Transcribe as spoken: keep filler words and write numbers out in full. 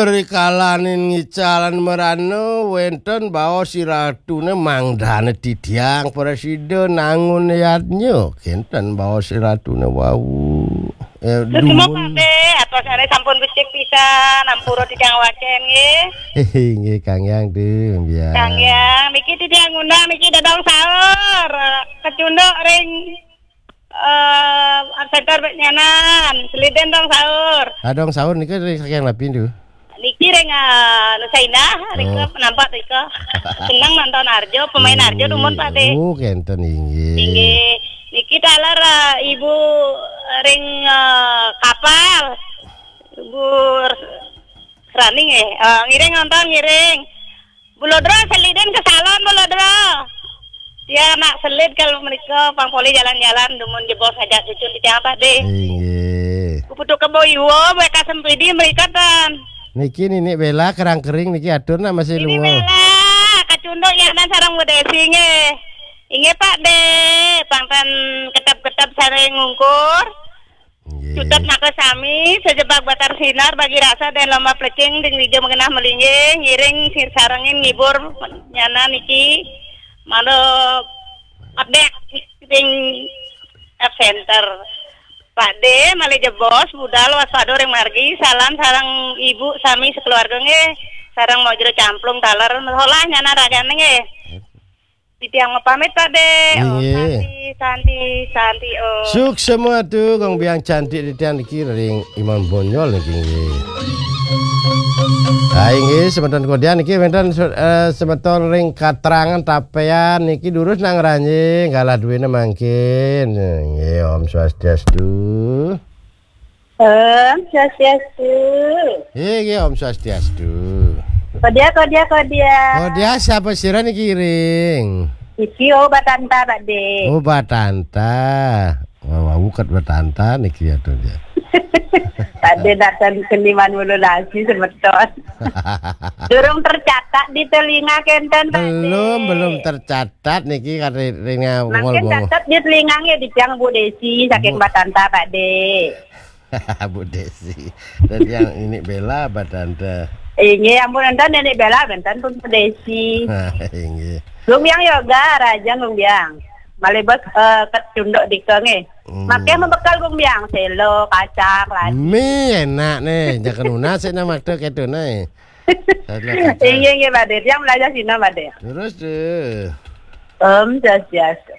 Rikalaning ngicalan merana wénten baos iratune mangdane titiang prasida nangun yadnya. Kénten baos iratune wau. Eh, Suksma, dumun. Pak Dé, atos sané sampun becik pisan, ampura titiang wacén nggih. Inggih, Kang Yang, Dé, mbiyan. Kang Yang, niki titiang ngundang niki dadong saur, kecunduk ring eh, Art Center Nyanan, seliden dong saur. Ah, dong saur niki dari saking napi, Du? Niki ring, eh, Nusa Indah, rika Oh. Nampak rika. Seneng nonton Arjo, pemain Arjo dumun, Pak Dé. Oh, kénten, inggih. Inggih. Niki taler, eh, Ibu ring, eh, kapal. Ibu Rani nggih. Eh, ngiring nonton, ngiring. Bulodro, seliden ke salon, Bulodro. Dia anak selid kalau mereka pang polih jalan-jalan, dumun jebos ngajak cucun di tiang tadi. Inggih. Kuputuk kebo iwo, mereka sempidi mereka tan. Niki Nini Bella kerang kering niki atur nak masih Ini lunga. Bella, kacunduk ya nan sarang Bu Desi nggih. Inggih Pak Dé, pang tan ketep-ketep sareng ngungkur. Nggih. Cutet maka sami, sejebak batar sinar, bagi rasa dan lomba plecing, ding dija mengenah melinggih, ngiring sir sarengin ngibur nyana niki, mano update ding F Center. Pak Dé, malih jebos, budal waspada ring margi, salam sareng ibu sami sekeluarga nggih, sareng Mojro Camplung taler, solah nyana ragane nggih. Titiang mapamit, Pak Dé. Om Inggih. Santi, Santi, Santi, Om. Suksma tu, Gung Biang cantik titiang niki ring Imam Bonyol niki nggih. Ah, inggih, semeton kodian niki wénten, eh, semeton ring Katrangan Tapéan niki durus nang Ranjing, galah duwéné mangkin. Nggih, Om Swastiastu. Om Swastiastu. Inggih, Om Swastiastu. Kodia, kodia, kodia. Kodia, siapa sira niki ring? Iki, oh, Batanta, Pak Dé. Oh, Batanta. Wah, wah, bukan Batanta niki ya, tuh, ya. Pak Dé datang seniman bulu nasi semeton. Durung tercatat di telinga kénten, Pak Dé. Belum, belum tercatat niki, kata ring, ring, Mangkin ngol-, ngol. Catat di telinga nggih, di tiang Bu Desi, saking Bu Batanta, Pak Dé. Bu Desi. Dan yang ini Bella, Batanta. Inggih, ampun, enten Nenek Bella, enten pun Bu Desi. Inggih. Gung Biang yoga, raja Gung Biang. Malih bos, eh, kecunduk dika nggih. Hmm. Makai membekal Gung Biang, selo, kacang, ladi. Mi enak nih, jangan lunas sih nama tuh kayak tuh nih. Selo, kacang. Inggih, inggih, Pak Dé. Yang belajar Cina, Pak Dé. Terus tuh. Om Swastiastu.